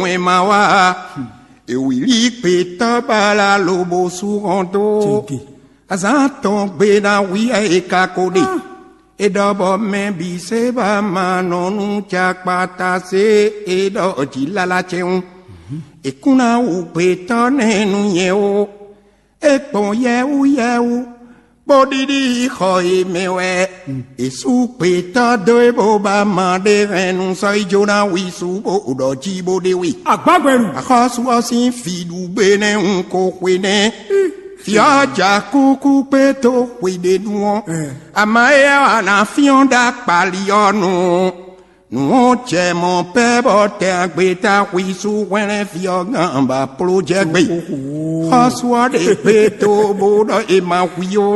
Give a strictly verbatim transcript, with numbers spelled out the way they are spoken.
Wɛn ma wá, ewǐlí gbětɔ́ bala lobo sú hɔn dó. Azán tɔn gbe ná wí e ka ko ɖe. E ɖɔ bɔ mɛ bǐ se ba ma nɔ nú cakpata se e ɖɔ jí lala cɛwun. E kún ná wú gbětɔ́ nɛ́ nú nyɛ ó. E gbɔn yɛwú yɛwú, bó ɖiɖi xɔ e mɛ wɛ. E sú gbětɔ́ dó e bó ba ma ɖe hɛn nú sɔ́ yi jó ná wi sú bó ɖɔ jí bó ɖe we. Agbágbɛnu. Axɔ́sú ɔ́ sín fí ɖu gbé nɛ́ un ko xwe nɛ́. Fí ɔ́ ja kúkú kpé tó xwe ɖé nu ɔ́. Ama éyɛ́ wá ná fyɔ́n ɖó akpali ɔ́ nu. Nǔ ɔ́ jɛ mɔ̌ pɛ́ bɔ tɛn agbeta xwísú hwlɛ́n fí ɔ́ gán ba pló jɛ gbe. Xɔ́sú ɔ́ ɖe gbé tó bó ɖɔ è ma hwí ó.